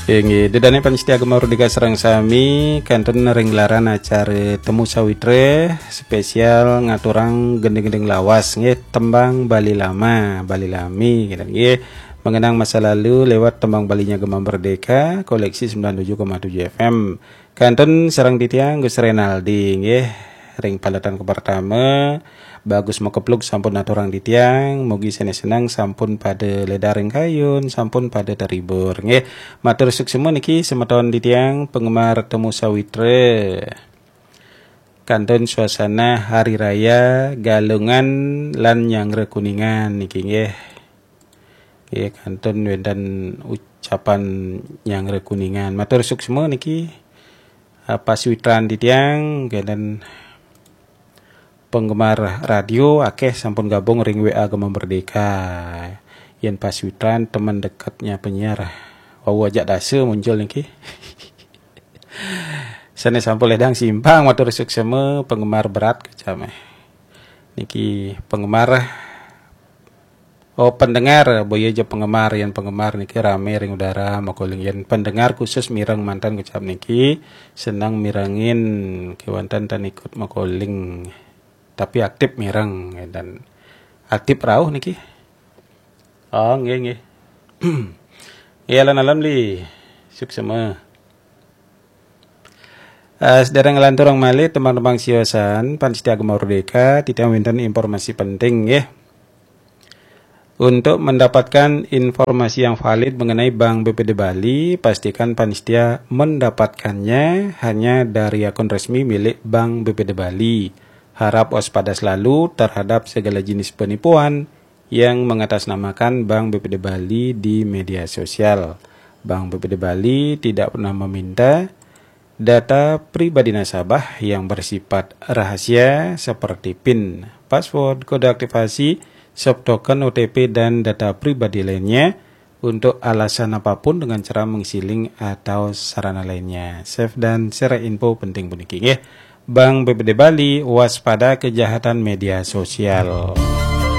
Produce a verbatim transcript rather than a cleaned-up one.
Inggih, dedane pamiarsa Gema Merdeka sareng sami, kantun ring gelaran acara Temu Sawitra spesial ngaturang gending-gending lawas, nggih, tembang Bali Lama, Bali Lami, gitu, nggih. Mengenang masa lalu lewat tembang Balinya Gema Merdeka, koleksi sembilan tujuh koma tujuh F M. Kantun sareng titiang Gus Renaldi, nggih. Ring paletan kapertama, Bagus Makeplug sampun aturang titiang, mugi sane seneng sampun pada ledar ring kayun, sampun pada terhibur, nggih. Matur suksma niki semeton titiang penggemar Temu Sawitra. Kantun suasana Hari Raya Galungan lan Nyanggra Kuningan niki, nggih. Nggih, kantun wenten ucapan Nyanggra Kuningan. Matur suksma niki, eh, pasawitran titiang, kenten penggemar radio akeh sampun gabung ring W A Gema Merdeka. Yen pasawitran teman dekatnya penyiar, wau ajak dasa muncul niki. Sane sampun ledang simpang, matur suksma, penggemar berat kecame. Niki penggemar, oh, pendengar, boya aja penggemar, yen penggemar niki rame ring udara, makoling. Yen pendengar khusus mireng manten kecap niki, seneng mirengin kewanten tan ikut makoling. Tapi aktif mireng dan aktif rauh niki. Oh, nggih, nggih. Nggih, alon-alon Li. Suksma. Eh, sedereng nglanturang malih tembang-tembang siosan, pamiarsa Gema Merdeka, titiang wenten informasi penting, nggih. Untuk mendapatkan informasi yang valid mengenai Bank B P D Bali, pastikan pamiarsa mendapatkannya hanya dari akun resmi milik Bank B P D Bali. Harap waspada selalu terhadap segala jenis penipuan yang mengatasnamakan Bank B P D Bali di media sosial. Bank B P D Bali tidak pernah meminta data pribadi nasabah yang bersifat rahasia seperti pin, password, kode aktivasi, soft token, O T P, dan data pribadi lainnya untuk alasan apapun dengan cara mengisi link atau sarana lainnya. Save dan share info penting puniki, nggih. Bank B P D Bali, waspada kejahatan media sosial.